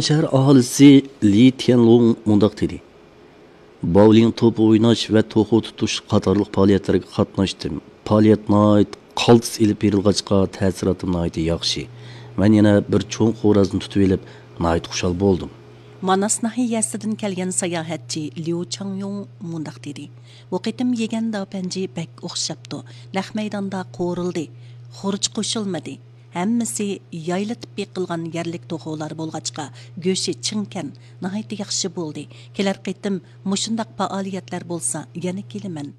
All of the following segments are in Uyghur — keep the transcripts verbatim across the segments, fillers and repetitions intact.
شەھەر ئاھالىسى لى تيەنلۇڭ مۇنداق دېدى: باۋلىڭ توپى ئويناش ۋە توخۇ تۇتۇش قاتارلىق پائالىيەتلەرگە قاتناشتىم. پائالىيەت ناھايىتى قالتىس ئېلىپ بېرىلغاچقا، تەسىراتىم ناھايىتى ياخشى. مەن يەنە بىر چوڭ خورازنى تۇتۇۋېلىپ، ناھايىتى خۇشال بولدۇم. ماناس ناھىيەسىدىن كەلگەن ساياھەتچى ليۇ چاڭيۇڭ مۇنداق دېدى: بۇ قېتىم يېگەن داپەنجى بەك ئوخشاپتۇ. نەق مەيداندا قورۇلدى، خۇرۇچ قوشۇلمىدى. ھەممىسى يايلىتىپ بېقىلغان يەرلىك توخۇلار بولغاچقا، گۆشى چىڭكەن، ناھايىتى ياخشى بولدى. كېلەر قېتىم مۇشۇنداق پائالىيەتلەر بولسا، يەنە كېلىمەن.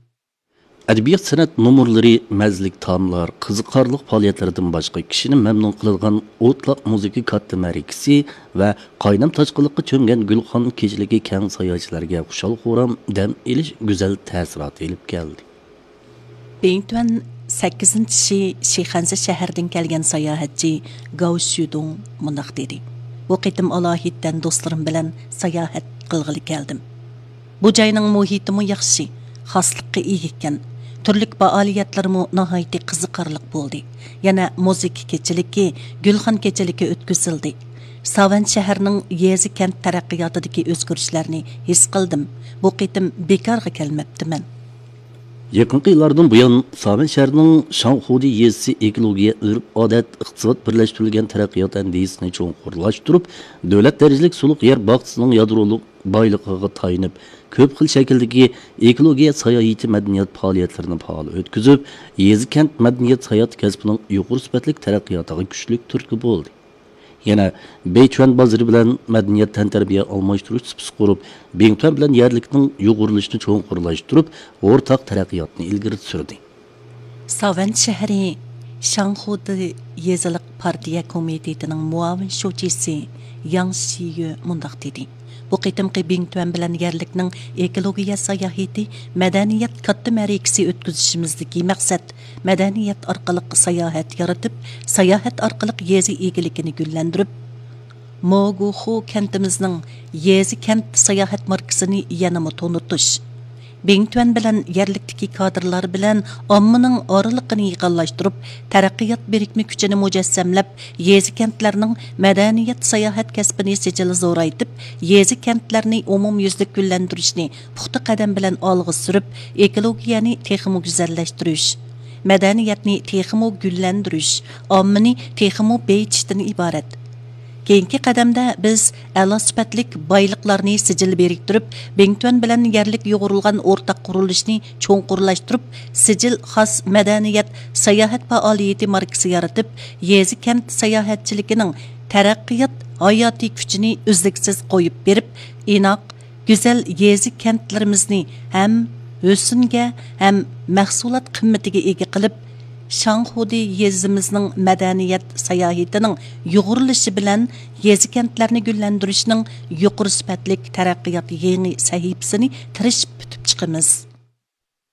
ئەدەبىيات سەنئەت نومۇرلىرى، مەززىلىك تائاملار، قىزىقارلىق پائالىيەتلەردىن باشقا، كىشىنى مەمنۇن قىلىدىغان ئوتلاق مۇزىكا كاتتا مەرىكىسى ۋە قاينام تاشقىنلىققا چۆمگەن گۈلخان كېچىلىكى كەڭ ساياھەتچىلەرگە خۇشال-خۇرام دەم ئېلىش گۈزەل تەسىرات ئېلىپ كەلدى. بىڭتۈەن سەككىزىنچى شى شىخەنزە شەھىرىدىن كەلگەن ساياھەتچى گاۋ شۈدۇڭ مۇنداق دېدى: بۇ قېتىم ئالاھىدىدىن دوستلىرىم بىلەن ساياھەت قىلغىلى كەلدىم. بۇ جاينىڭ مۇھىتىمۇ ياخشى، خاسلىققا ئىگە ئىكەن. تۈرلۈك پائالىيەتلىرىمۇ ناھايىتى قىزىقارلىق بولدى. يەنە مۇزىكا كېچىلىكى، گۈلخان كېچىلىكى ئۆتكۈزۈلدى. ساۋەن شەھىرىنىڭ يېزا-كەنت تەرەققىياتىدىكى ئۆزگىرىشلەرنى ھېس قىلدىم. بۇ قېتىم بىكارغا كەلمەپتىمەن. يېقىنقى يىللاردىن بۇيان، ساۋەن شەھىرىنىڭ شاڭخۇدى يېزىسى ئېكولوگىيە، ئۆرپ-ئادەت، ئىقتىساد بىرلەشتۈرۈلگەن تەرەققىيات ئەندىزىسىنى چوڭقۇرلاشتۇرۇپ، دۆلەت دەرىجىلىك سۇلۇق يەر باغچىسىنىڭ يادرولۇق بايلىقىغا تايىنىپ، كۆپ خىل شەكىلدىكى ئېكولوگىيە ساياھىتى مەدەنىيەت پائالىيەتلىرىنى پائال ئۆتكۈزۈپ، يېزا-كەنت مەدەنىيەت ساياھەت كەسپىنىڭ يۇقىرى سۈپەتلىك تەرەققىياتىغا كۈچلۈك تۈرتكە بولدى. يەنە بېيچۈەن بازىرى بىلەن مەدەنىيەت تەنتەربىيە ئالماشتۇرۇش سۇپىسى قۇرۇپ، بىڭتۈەن بىلەن يەرلىكنىڭ يۇغۇرۇلۇشىنى چوڭقۇرلاشتۇرۇپ، ئورتاق تەرەققىياتنى ئىلگىرى سۈردى. ساۋەن شەھىرى شاڭخۇدى يېزىلىق پارتىيە كومىتېتىنىڭ مۇئاۋىن شۇچىسى ياڭ شىيۈ مۇنداق دېدى: بۇ قېتىمقى بىڭتۈەن بىلەن يەرلىكنىڭ ئېكولوگىيە ساياھىتى، مەدەنىيەت كاتتا مەرىكىسى ئۆتكۈزۈشىمىزدىكى مەقسەت، مەدەنىيەت ئارقىلىق ساياھەت يارىتىپ، ساياھەت ئارقىلىق يېزا ئىگىلىكىنى گۈللەندۈرۈپ، موگۇخۇ كەنتىمىزنىڭ يېزا-كەنت ساياھەت ماركىسىنى يەنىمۇ تونۇتۇش، بىڭتۈەن بىلەن يەرلىكتىكى كادىرلار بىلەن ئاممىنىڭ ئارىلىقىنى يېقىنلاشتۇرۇپ، تەرەققىيات بىرىكمە كۈچىنى مۇجەسسەملەپ، يېزا-كەنتلەرنىڭ مەدەنىيەت ساياھەت كەسپىنى سىجىل زورايتىپ، يېزا-كەنتلەرنى ئومۇميۈزلۈك گۈللەندۈرۈشنى پۇختا قەدەم بىلەن ئالغا سۈرۈپ، ئېكولوگىيەنى تېخىمۇ گۈزەللەشتۈرۈش، مەدەنىيەتنى تېخىمۇ گۈللەندۈرۈش، ئاممىنى تېخىمۇ بېيىتىشتىن ئىبارەت. كېيىنكى قەدەمدە بىز ئەلا سۈپەتلىك بايلىقلارنى سىجىل بىرىكتۈرۈپ، بىڭتۈەن بىلەن يەرلىك يۇغۇرۇلغان ئورتاق قۇرۇلۇشنى چوڭقۇرلاشتۇرۇپ، سىجىل خاس مەدەنىيەت ساياھەت پائالىيىتى ماركىسى يارىتىپ، يېزا-كەنت ساياھەتچىلىكىنىڭ تەرەققىيات ھاياتىي كۈچىنى ئۈزلۈكسىز قويۇپ بېرىپ، ئىناق، گۈزەل يېزا-كەنتلىرىمىزنى ھەم ھۆسنگە، ھەم مەھسۇلات قىممىتىگە ئىگە قىلىپ، شاڭخۇدى يېزىمىزنىڭ مەدەنىيەت ساياھىتىنىڭ يۇغۇرۇلۇشى بىلەن يېزا-كەنتلەرنى گۈللەندۈرۈشنىڭ يۇقىرى سۈپەتلىك تەرەققىيات يېڭى سەھىپىسىنى تىرىشىپ پۈتۈپ چىقىمىز.